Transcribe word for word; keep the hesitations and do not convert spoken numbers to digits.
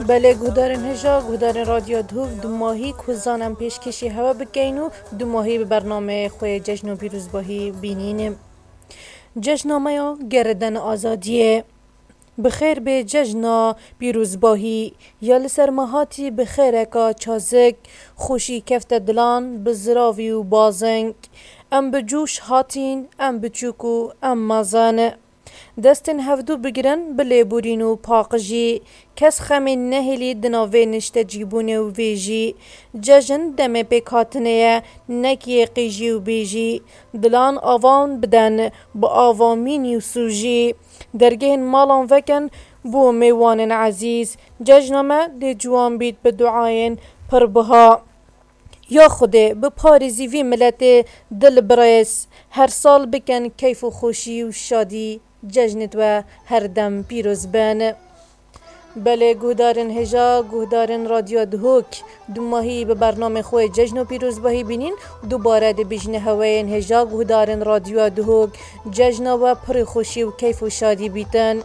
Belê guhdarên hêja, guhdarên Radyo Duhok, dumahî ku zan em pêşkêşî hewe bikeyn û dumahî bi bernameyê xwe yê Cejn û Pîrozbahî bînîn. Cejna me ya gereden azadiyê. Bi xêr bê cejna pîrozbahî, ya li ser me hatî bi xêreka çazik, xweşî kefte dilan bi ziravî û bazeng. Em bi cûş hatîn, em biçûk û em mezin. Destên hevdû bigirin bi lêborîn û paqijî. Kes xemê nehêlî di nav vê niştecîbûnê û vêjî. Cejn demê pêkhatinê ye, nek yê qîjî û bêjî. Dilan avan biden bi ava mînî û sûjî. Dergehên malan vekin bo mêwanên ezîz. Cejna me dê ciwan bît bi duayên pir biha. Ya Xwedê biparêzî vî miletê dilbirêz. Her sal bikin keyf û xweşî û şadî. Cejnê we her dem pîroz bin. Belê guhdarên hêja, guhdarên Radyo Duhok, dumahî bi bernamê xwe Cejn û Pîrozbahî bînîn, dubare dibîjne heweyên hêja guhdarên Radyo Duhok, cejna we pirî xweşî û keyf û şadî bîtin.